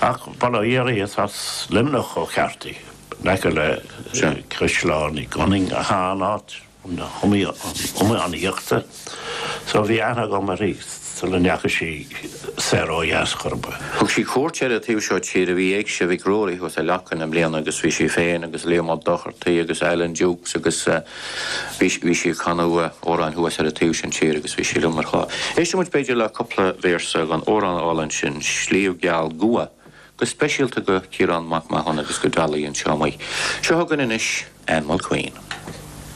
Ach bail ó Dhia uirthi, is as Luimneach ó cheart í, in aice le Caisleán Uí Gunning atá an áit iomaíochta. So bhí aithne agam uirthi sula ndeachaigh sí soir ó dheas chor ar bith. Thug sí cuairt ar an taobh seo tíre, bhí Éigse Mhic Ruairí thuas i Leacain i mbliana agus bhí sí féin agus Liam Ó Dochartaigh agus Alan Dukes agus bhí bhí sí ag canadh amhráin thuas ar an taobh sin tíre agus bhí sí liom ar chlár. Éistfidh muid b'fhéidir le cúpla véarsa den amhrán álainn sin, Sliabh Geal Gua, go speisialta go Ciarán Mac Mathúna agus go Dolly anseo amuigh. Seo chugainn anois Ann Mulqueen.